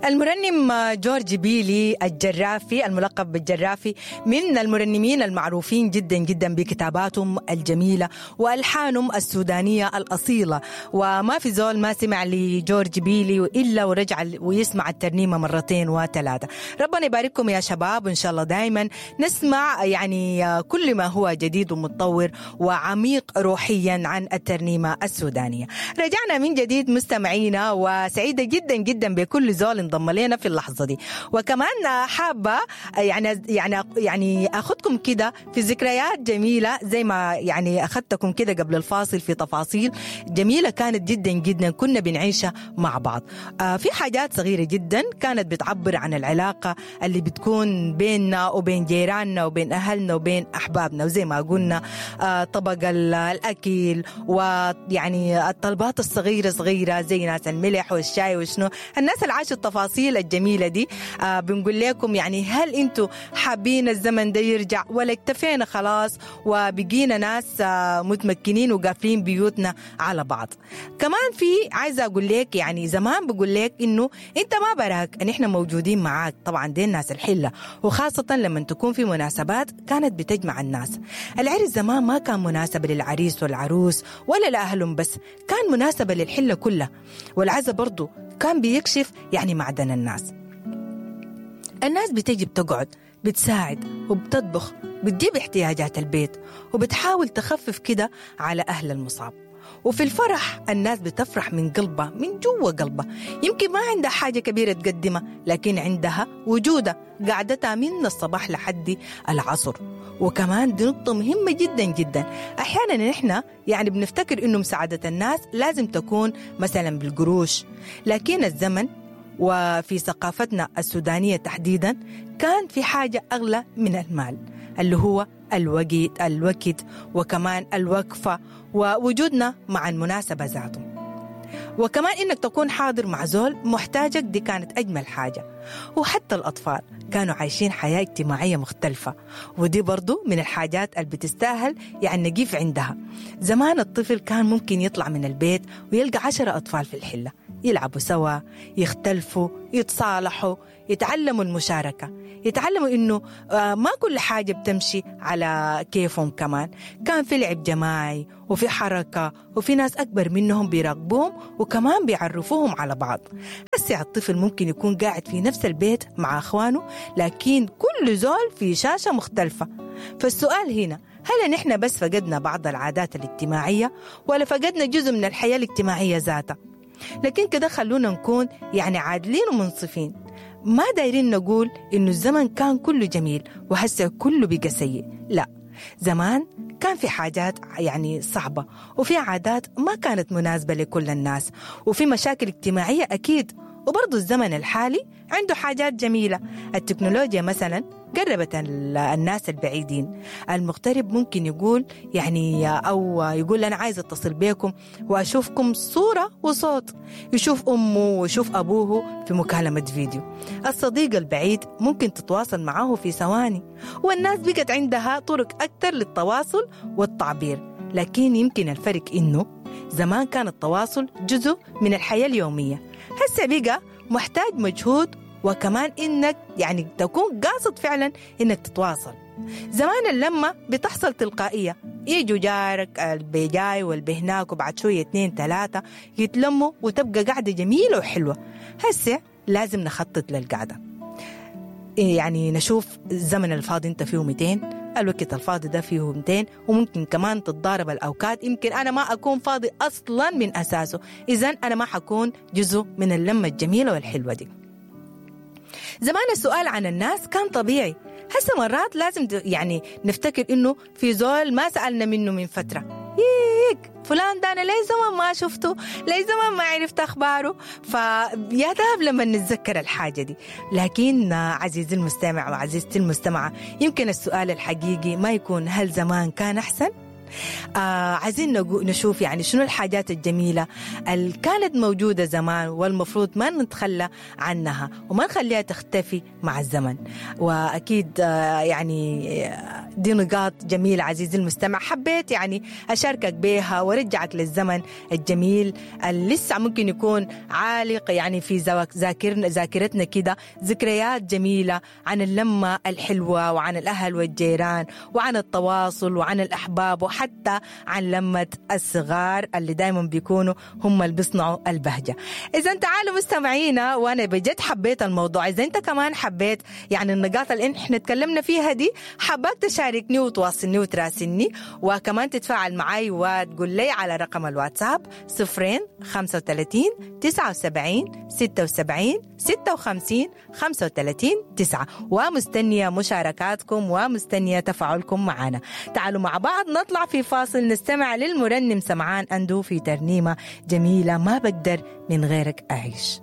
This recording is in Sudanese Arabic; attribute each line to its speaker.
Speaker 1: المرنم جورج بيلي الجرافي الملقب بالجرافي من المرنمين المعروفين جدا جدا بكتاباتهم الجميلة وألحانهم السودانية الأصيلة، وما في زول ما سمع لجورج بيلي إلا ورجع ويسمع الترنيمة مرتين وثلاثة. ربنا يبارككم يا شباب، وإن شاء الله دايما نسمع يعني كل ما هو جديد ومتطور وعميق روحيا عن الترنيمة السودانية. رجعنا من جديد مستمعينا، وسعيدة جدا جدا بكل زول انضم لنا في اللحظة دي، وكمان حابة يعني أخذكم كده في ذكريات جميلة زي ما يعني أخذتكم كده قبل الفاصل في تفاصيل جميلة كانت جدا جدا كنا بنعيشها مع بعض. في حاجات صغيرة جدا كانت بتعبر عن العلاقة اللي بتكون بيننا وبين جيراننا وبين أهلنا وبين أحبابنا، وزي ما قلنا طبق الأكل ويعني الطلبات الصغيرة صغيرة زي ناس الملح والشاي وشنو، الناس اللي عاشوا التفاصيل الجميلة دي. بنقول لكم يعني هل انتوا حابين الزمن ده يرجع ولا اكتفينا خلاص وبقينا ناس متمكنين وقافلين بيوتنا على بعض؟ كمان في عايزة أقول لك يعني زمان بقول لك إنه أنت ما براك، نحن موجودين معاك. طبعا دي الناس الحلة، وخاصة لما تكون في مناسبات كانت بتجمع الناس. العرس زمان ما كان مناسبة للعريس والعروس ولا لأهلهم بس، كان مناسبة للحلة كلها. والعزا برضو كان بيكشف يعني معدن الناس. الناس بتجي بتقعد، بتساعد وبتطبخ، بتجيب احتياجات البيت، وبتحاول تخفف كده على أهل المصاب. وفي الفرح الناس بتفرح من قلبها، من جوا قلبها. يمكن ما عندها حاجة كبيرة تقدمها، لكن عندها وجودها، قعدتها من الصباح لحد العصر. وكمان دي نقطة مهمة جدا جدا. أحيانا نحن يعني بنفتكر إنه مساعدة الناس لازم تكون مثلا بالقروش، لكن الزمن وفي ثقافتنا السودانية تحديدا كان في حاجة أغلى من المال، اللي هو الوقت وكمان الوقفة ووجودنا مع المناسبة ذاته. وكمان إنك تكون حاضر مع زول محتاجك، دي كانت أجمل حاجة. وحتى الأطفال كانوا عايشين حياة اجتماعية مختلفة، ودي برضو من الحاجات اللي بتستاهل يعني نقيف عندها. زمان الطفل كان ممكن يطلع من البيت ويلقى 10 أطفال في الحلة يلعبوا سوا، يختلفوا، يتصالحوا، يتعلموا المشاركة، يتعلموا إنه ما كل حاجة بتمشي على كيفهم. كمان كان في لعب جماعي وفي حركة وفي ناس أكبر منهم بيراقبوهم وكمان بيعرفوهم على بعض. هسه الطفل ممكن يكون قاعد في نفس البيت مع أخوانه، لكن كل زول في شاشة مختلفة. فالسؤال هنا، هل نحن بس فقدنا بعض العادات الاجتماعية ولا فقدنا جزء من الحياة الاجتماعية ذاتها؟ لكن كده خلونا نكون يعني عادلين ومنصفين. ما دايرين نقول إنه الزمن كان كله جميل وهسه كله بقى سيء، لا، زمان كان في حاجات يعني صعبة وفي عادات ما كانت مناسبة لكل الناس وفي مشاكل اجتماعية أكيد. وبرضو الزمن الحالي عنده حاجات جميلة. التكنولوجيا مثلا قربت الناس البعيدين. المغترب ممكن يقول يعني أو يقول أنا عايز أتصل بيكم وأشوفكم صورة وصوت، يشوف أمه ويشوف أبوه في مكالمة فيديو. الصديق البعيد ممكن تتواصل معه في ثواني، والناس بقت عندها طرق أكثر للتواصل والتعبير. لكن يمكن الفرق إنه زمان كان التواصل جزء من الحياة اليومية، هسه بقى محتاج مجهود وكمان إنك يعني تكون قاصد فعلا إنك تتواصل. زمان اللمة بتحصل تلقائية، يجوا جارك البيجاي والبهناك وبعد شوية 2 3 يتلموا وتبقى قعدة جميلة وحلوة. هسه لازم نخطط للقعدة، يعني نشوف الزمن الفاضي انت فيه 200، الوقت الفاضي ده فيه 200، وممكن كمان تتضارب الأوقات. يمكن أنا ما أكون فاضي أصلا من أساسه، إذن أنا ما حكون جزء من اللمة الجميلة والحلوة دي. زمان السؤال عن الناس كان طبيعي، هسه مرات لازم يعني نفتكر إنه في زول ما سألنا منه من فترة، ييك فلان ده أنا ليه زمان ما شفته، ليه زمان ما عرفت أخباره. فيا ذهب لما نتذكر الحاجة دي. لكن عزيزي المستمع وعزيزتي المستمعة، يمكن السؤال الحقيقي ما يكون هل زمان كان أحسن؟ عايزين نشوف يعني شنو الحاجات الجميلة اللي كانت موجودة زمان والمفروض ما نتخلى عنها وما نخليها تختفي مع الزمن. وأكيد يعني دي نقاط جميلة عزيزي المستمع، حبيت يعني أشاركك بيها ورجعك للزمن الجميل اللي لسه ممكن يكون عالق يعني في ذاكرتنا كده، ذكريات جميلة عن اللمة الحلوة وعن الأهل والجيران وعن التواصل وعن الأحباب، وحتى عن لمة الصغار اللي دايما بيكونوا هم اللي بيصنعوا البهجة. إذا تعالوا مستمعينا، وأنا بجد حبيت الموضوع، إذا أنت كمان حبيت يعني النقاط اللي احنا تكلمنا فيها دي، حباك تشاركني وتواصلني وتراسلني، وكمان تتفاعل معي وتقول لي على رقم الواتساب 0 35 79 76 56 35 9. ومستنية مشاركاتكم ومستنية تفاعلكم معنا. تعالوا مع بعض نطلع في فاصل نستمع للمرنم سمعان أندو في ترنيمة جميلة ما بقدر من غيرك أعيش.